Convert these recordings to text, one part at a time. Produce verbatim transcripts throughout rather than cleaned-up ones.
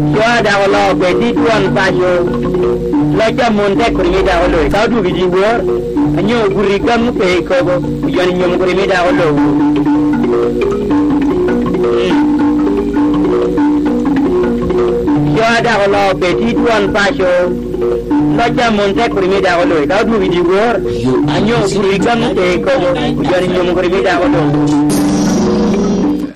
Cwa dako oloo kwedi twon paco. Loc a mon tek kodi mi dako loyi. Ka odwogo i dyewor, anyo obuto i gam ope i kobo, ojoni nyom kodi mi dako lowu. Cwa dako oloo kwedi twon paco. Loc a mon tek kodi mi dako loyi. Ka odwogo i dyewor, anyo obuto i gam ope i kobo, ojoni nyom kodi mi dako lowu.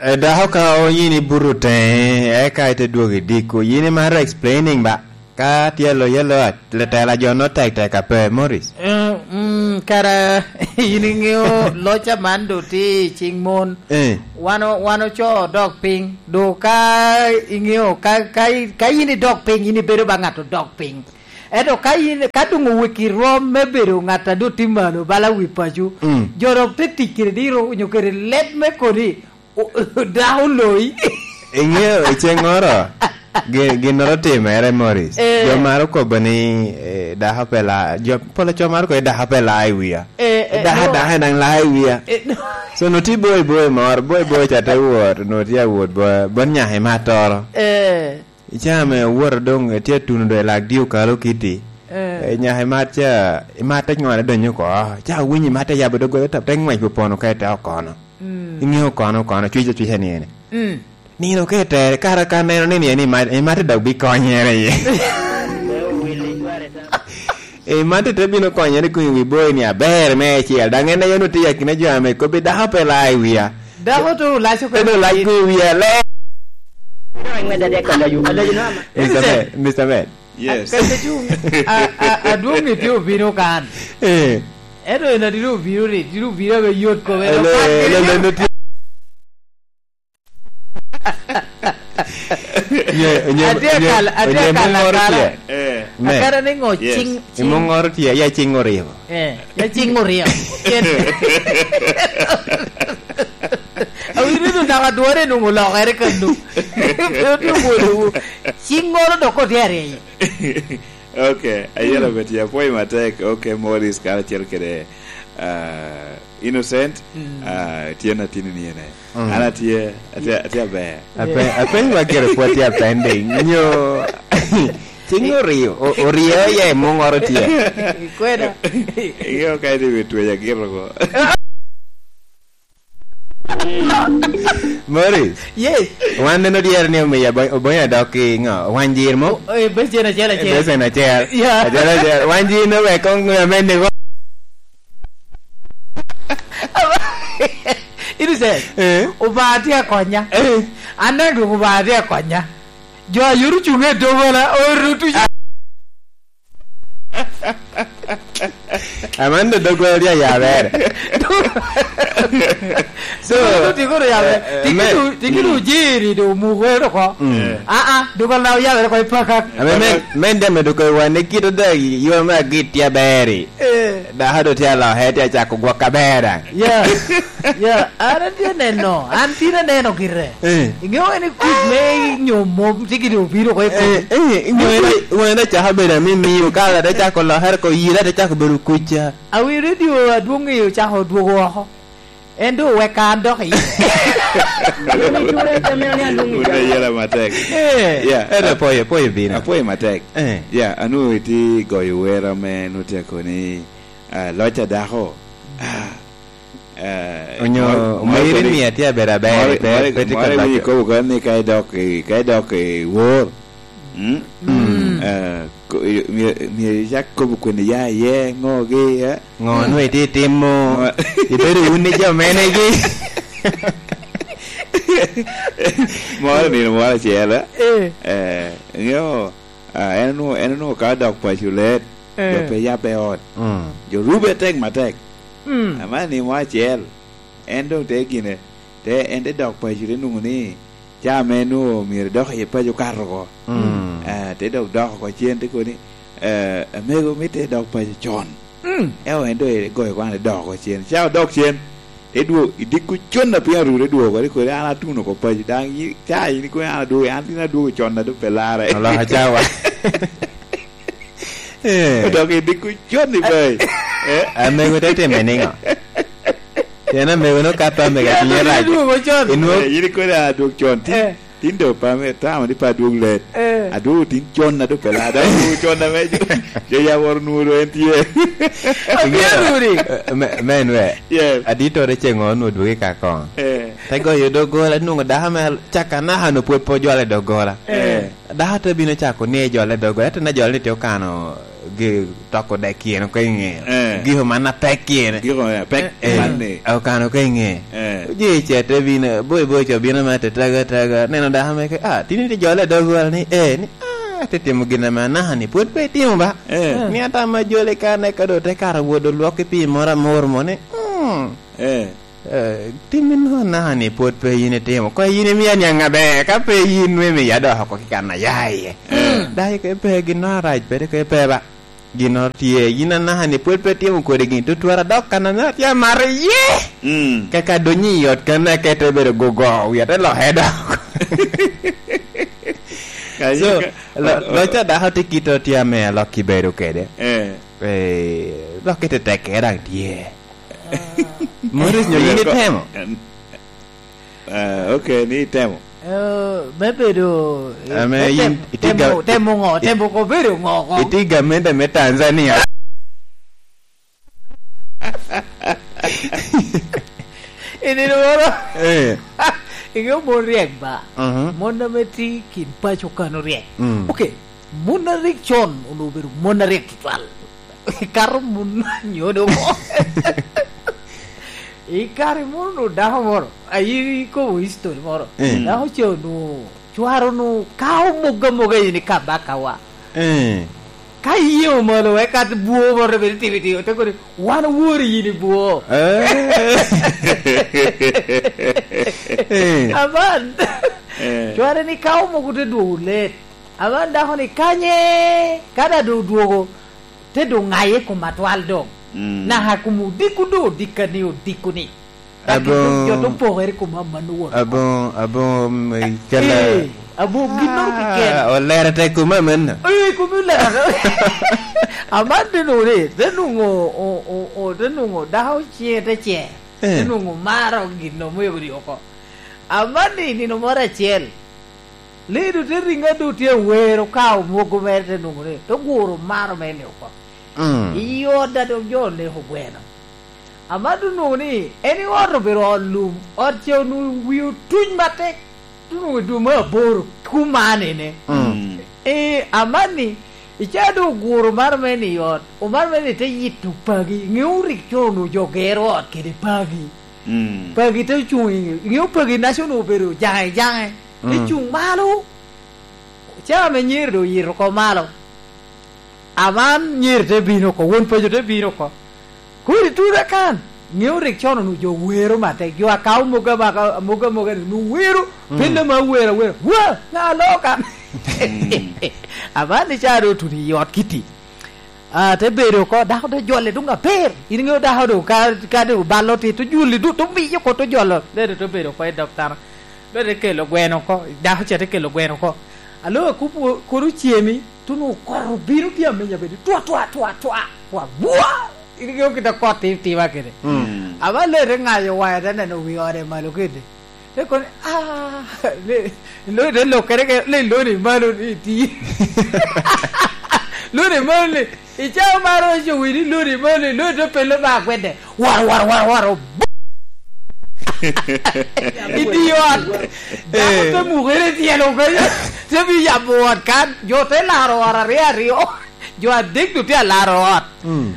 E, dako ka oyin ibuto teŋe, eka ite dwogo i diko. Yin imaro explaining ba? Ka tye alo yelo, letela jo no tek tek ape, Morris. Eh, mm, kara in iŋeo loc aman do tye i ciŋ mon. Eh. Wan o-, wan ocoo odok piny. Do ka iŋeo, ka, ka i-, ka in idok piny, in ibedo ba ŋat odok piny. Ento ka in, ka doŋ oweki rom me bedo ŋat a doŋ tye malo bala wi paco, mm, jo dok te tic kede diro onyo kede leb me kodi, O-, dako oloyi. Iŋeo i ceŋŋoro, gi-, ginnoro otimere, Morris. Eh. Jo maro kobo ni, eh, dako pe la-, jo, pol co maro kobo ni dako pe la i wia. Eh, eh, dako, no. Dako daŋ la i wia. Eh, no. So, nwoŋo tye boi boi moro, boi boi ca te wot, nwoŋo tye awot bo-, bot nyaka i mattoro. Eh. I caa me owoto doŋ, etye atuno doŋ i lak dye okalo kiti. Eh. Eh, nyaka i mat ca, i mat te ŋone donyo oko. Ca owinyo i mat te yabo doggola, te, te ŋwec opono ka i te okono. Mm. Iŋeo kono, kono, cwica, cwica ni ene. Mm. Nino ka i tere, kara ka neno ni, ni, ni mat, i mat te dok bi konyere iye. Eh, mat te bino konyere kun i wi boyi ni aber me ecel. Daŋ en aye onwoŋo tye i akina jo ame kobbi dako pe la i wia. Dako to olac oko. En olac ko i wia le. Mister Bed, Mister Bed. Yes. Kaka cuŋ, a, a, adwoŋ ni tye obino kan. Eh. Ento en adiro obino ni, diro obino ame yot kome. Ele, ele, ele, no tye. Nye, nye, atye nye, kal-, atye nye kal-, mongoro akala. Tye. Eh. Me. Akala ni ŋo. Yes. Cing, cing. Imongoro tye, ya cing oryo. Eh, ya cing oryo. Cen. Awinyo ni naka dwore nwoŋo olokere kano. Pe otye obwolowu. Cing ŋolo dok otye aryo. Ok, ayero beti, apwoyo matek. Ok, Morris karacel kede, ah, Innocent, mm, ah, tyen atini ni ene. Mm. An atye, atye, atye aber. Ape-, apenyo wa gire pwod tye apending. Nyo, cing oryo, o-, oryo ya i mungoro tye. Kweda. Iyo ka iti wi twec agito ko. Morris. Yes. Wan neno dyere ni omiyo abo-, obonyo adok ki ŋo? Wany jir mo? O-, eh, besen acel acel. Besen acel. Yeah. Acel acel. Wany jir no wek kong ŋo amen ni ko? Innocent. Eh? Obaŋa tye akonya. Eh. An daŋ dwong Obaŋa tye akonya. Jo a yot ocuŋ i dogola, orutu. Aman do dogola tye ayabere. So, tikono yabere. Eh, eh, tikino, tikino jiri do mugo ero ko. Mm. Ah, ah, dogola na oyabere ko i pakak. Ame men, men dame dogola wan ne kito da yo me agit tye aberi. Eh. Dako do tye aloke, tye acako gwok aber daŋ. Yeah. Yeah, an atye neno, an tin aneno gire. Eh. Iŋeo en i kuc me nyo mom tye gire obino oko i kuc. Eh, eh, iŋeo en, iŋeo en acako bedo amimio, ka ate cako lokere oko, yira ate cako bedo kuc ca. Awi radio adwoŋ i ocako dwogo oko. En doŋ oweka an dok i. Wun ayela matek. Eh, yeah. Ere apoyo, apoyo bino. Apoyo matek. Eh. Yeah, anu iti goyo wer ame nu tye koni, ah, loc a dako. Ah, eh, onyo moro, moro omeri koni, mia tye aber aber, moro, pe, moro, pe tye moro ka iwinyo loco. Ikobo koni ni ka idok i, ka idok i wor. Mm? Mm. Eh, ko-, i-, myero, myero icak kobo kwene ya iye, ŋo gi, eh? Ŋo nwe itye itimo? Ŋo? Ibedo wun ni jo menegi? Moro nino moro acel, eh? Eh. Eh, iŋeo, ah, en onwoŋo, en onwoŋo ka odok paco let, eh, jo pe yabbe ot. Mm. Jo rube tek matek. Mm. Ama nino moro acel, en doŋ te gine, te, en te dok paco, te nwoŋo ni, caa ame nwoŋo myero edok iye paco okato oko. Mm. Ah, te dok dok oko cen, te kobo ni, eh, "Amego, mitte idok paco con." Mm. Eo, en doŋ egoyo kwan, edok oko cen. Ca odok cen, te dwogo, idiko con a piny arure dwogo, te kodi, "An atuno oko paco, daŋ yi-, ca in ikobo ni an adwogo, an tin adwogo con, a doŋ pe larre." Oloko cawa. Eh. Odok idiko con i bai. Eh? Amego te time niŋo? Pien amego no kato amego cinye rac. Idwogo con. Inwo- Eh, in ikobo ni an adwog con, tin. Eh. Tin doŋ pa me tamo ni pe adwog let. Eh. Adwogo tin con a doŋ pe lada, adwogo con ame jo, jo ya woro nwoŋo doŋ en tye. Abino runi. Eh, me, me en we. Yes. Aditore ceŋ onwoŋo dwogo i ka koŋ. Eh. Te goyo doggola, nwoŋo dako me caka naka no pwod pe ojwalo i doggola. Eh. Dako te bino cako ni ejwalo i doggola, ento na jwalo ni tye okano gi toko dek kien oko i ŋe. Eh. Giko man apek kien. Giko man apek. Eh, man ni. Okano oko i ŋe. Eh. Oje ce te bino, boy boy co bino me te taga taga. Neno dako me ke, ah, tini ti jole dog wala ni, eh, ni, ah, te timo gin ame anaka ni, pwod pe itimo ba? Eh. Ni ata ma jole ka ne ka do te kara wodo lwok ki pi moro amor mo ni, mm. Eh. Eh, timmi no anaka ni pwod pe yin itimo. Ko yin imio aniaŋ aber, ka pe yin nwe mi ya dok oko ki kan aya iye. Eh. Dai ke pe gin no arac pede ke pe ba. Ginnoro tye, yin anaka ni pwod pe timo kodi gin tutwal, adok kan ame atye amato iye. Mm. Kaka adonyo i ot kan akete bedo gogo, wia te loke dok. Ka So, yin ka, lo-, o-, o-, loc a dako tye kite tye ame alok kibedo kede. Eh. Eh, lok kite tekke daŋ tye. Morris nyo yin itemo? Em, Eh, ok, ni itemo. Eh, me bedo, eh, Ame me yin tem-, itye temo, ga-, temo ŋo? it-, Temo ko bedo ŋo ko? Itye gamente me Tanzania. I nino moro. Eh. Iŋeo mon ryek ba? Mhm. Mon ame tye kin paco kano ryek. Mm. Ok, mon a rik con onwoŋo obedo mon a ryek tutwal. Ikato mun nyodo mo. Ikato imuno dako moro, ayi ikobo history moro. Eh. Dako ce onwoŋo, cware onwoŋo kao mogo amoga in i kabakawa. Eh. Ka iyeŋo malo, eka bwo moro bene timo itimo, te kodi, "Wan owori yin i bwo." Eh. Eh. Aman, Eh. cware ni kao mogo te dwogo let. Aman dako ni kanye, ka da doŋ odwogo, te doŋ ŋaye i kom atwal doŋ. Mm. Naka kom odiko doŋ odika ni odiko ni. Daki Abo-, doŋ jo to pokere i kom aman owot. Abo-, abo, mm, kala Eh, abo ginnoro keken. Ah, olero te kom aman na. Eh, kom olero. Aman te nwoŋo ni, te nwoŋo, o, o, o, te nwoŋo dako ciŋe te cer. Eh. Te nwoŋo maro gin omego ni oko. Aman ni nino moro acel. Ledo te riŋo a doŋ tye awero ka omwogo mere te nwoŋo ni, te guro maro mere ni oko. Mm. I ot a doŋ jo oneko gweno. Aman doŋ nwoŋo ni, en i ot obedo ot lum, ot ce onwoŋo wi otuny matek, doŋ nwoŋo i dwe me aboro kumanene. Mm. Eh, aman ni, i ca doŋ oguro maro mere ni i ot, omaro mere ni te yito pagi, ŋeo rik con onwoŋo jo gero ot kede pagi. Mm. Pagi te cuŋ i ŋe, ŋeo pagi naca onwoŋo obedo jaŋe jaŋe. Te Mm. cuŋ malo. Ca ame nyeri doŋ oyito oko malo. Aman nyeri te bino oko, won paco te bino oko. Kodi tuta kan, ŋeo rik con onwoŋo jo wero matek, jo a kao mogo amaka, mogo amoga ni onwoŋo wero, Mm. pelle ma wero awera, "Wa, ŋa loo kan?" Mm. Aman ni ca doŋ otuno i ot kiti. Ah, te bedo oko, dako te jole doŋ aber. In iŋeo dako doŋ ka, ka doŋ balo tit, to juli doŋ, to miyo oko, to jolo. Ledo te bedo oko i dog tana. Ledo te kelo gweno oko, dako ca te kelo gweno oko. Alo akubo kono ocemi, to nwoŋo kot obino tye amenya bene, twa, twa, twa, twa, twa, bwa! In iŋeo kite kot ti-, tima kede. Mm. Aba ledo te ŋayo waya, te neno wi ode malo kede. Te kono, ah, le, lo, te lokere ke, le, loni malo ni ti. Loni malo ni, i cawa maro oco wini loni malo ni, loni te pelo ba gwede. Waro, waro, waro, waro. I di ot. Dako Eh. te mukere tyelo kanyo. Te bi yabo ot kan. Jo te laro ot aryo aryo. Jo adek du tye alaro ot. Mm.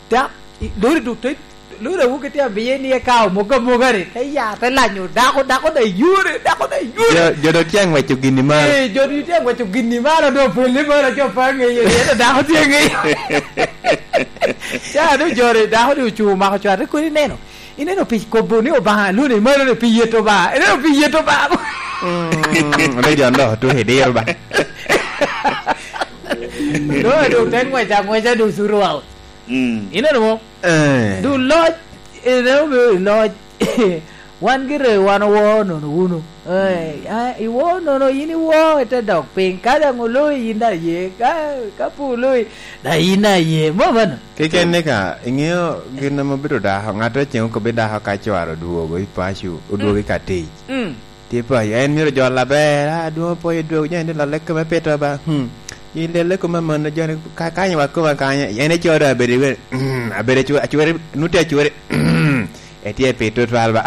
Da, i, lori du te, lori awobi tye abiye ni eka omoga amoga ni, te ya, te lanyo dako, dako da yore, dako da yore. Jo, jo do tye ang'weco gini malo. Eh, jo do tye ang'weco gini malo, do pwelle malo, jo pa ng'eye, ento dako tye ng'eye. Ca do jore, dako do ocuŋ omako cware, kodi neno. Ineno pi kobo ni Obaŋa, luni malo ni pi yet Obaŋa. Ineno pi yet Obaŋa. Mm, ame jo ndok otuko i diro ba. Do, do, te ng'weco ang'weca, do, zero out. Mm. Ineno mo? Eh. Du loc, ene obedo i loc. Wan gire, wan owo nono wunu. Eh, ah, iwo nono, yin iwo, ite dok piny. Ka daŋ oloyi, yin daŋ ye. Ka, ka pe oloyi, daŋ yin daŋ ye. Mo mano? Keken ni ka, iŋeo gin ame obedo dako, ŋat acel okobbi dako ka cware odwogo i paco, odwogo i ka tic. Mm. Tipo, en myero jol aber, a, adwoŋ opwoyo dwog, jo ni lallek kome pito ba. Hmm. Yin lallek kome amanno, jo ni ka-, kany wa koma kany, en ico dong abedo iwe, mm, abedo acwe-, acwere, nu tye acwere, mm, etye pito twal ba.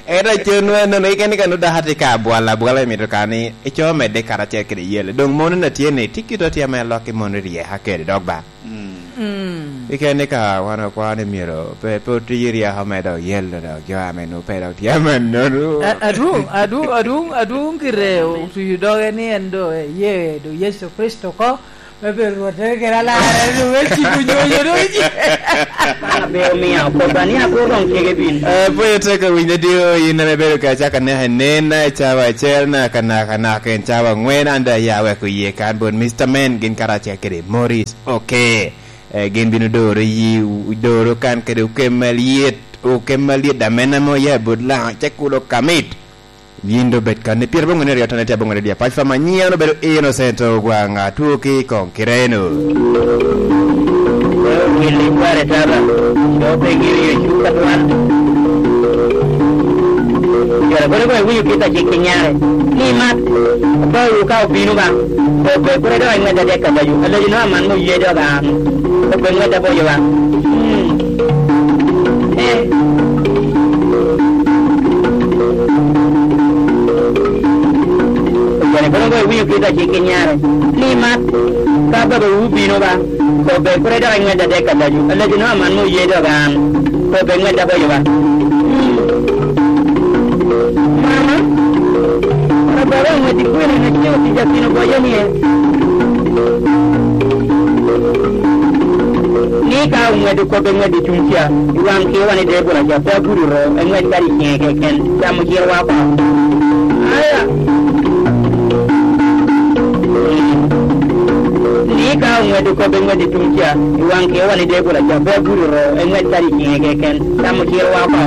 Ento acen wa nono, keken ka nu dok atye ka abwal, abwal emito ka ni ico medde karacel kede yel. Dong mono na tye ni, tye kito tye ame lok i mono ryeka kede dok ba. Mm. Mm. Keken ni ka wan okwao ni myero pe, pe oti ryeko me dok yelo dok jo ame nu pe dok tye amannono. A-, adwoŋ, adwoŋ, adwoŋ, adwoŋ kite otuyo doge ni en do, eh, ye, do Yecu Kricito ko, me bedo Rwottere kede Alarre, do me ciko nyonyo do ji. Man abe omio kobba ni akur doŋ cege bin. Eh, pwod itye ka winyo adio, in ame ibedo ka cako anaka i nen, i cawa acel, naka, naka, naka, en cawa angwen, an doŋ aya weko iye kan bot Mister Man, gin karacel kede Morris. Ok. Eh, gin bino doro yi, doro kan kede okem alyet, okem alyet, amena mo ya bot Laŋo, cek kulo kamit. Yin do bed kan ni pyerabongwen aryo, tone tye abongwen aryo, pac fam anyiŋ obedo Innocent Ogwaŋ, atwo ki i koŋ Kireno. Wil i kware taba, do pe giri yo cuka twal. Jolo kono kono iwinyo kit a cik ki nyare, ni mat, obawu ka obino ba, kobbe kure dok i ŋwedda dek alajo, alajo no aman mo ye dok an, kobbe ŋwedda bojo ba. Hmm. Eh. Jolo kono kono iwinyo kit a cik ki nyare, ni mat, ka babawu obino ba, kobbe kure dok i ŋwedda dek alajo, alajo no aman mo ye dok an, kobbe ŋwedda bojo ba. Mama, ababa oŋweddi kwene na cieŋ otic akino bojo nie? Ni ka oŋweddi kobbe ŋweddi tuŋ ca, i waŋ kiwa ni Debora ca pe agudo ro, eŋwed kadi ciŋe keken, camo ciro wa oko. Aya! Ni ka oŋweddi kobbe ŋweddi tuŋ ca, i waŋ kiwa ni Debora ca pe agudo ro, eŋwed kadi ciŋe keken, camo ciro wa oko.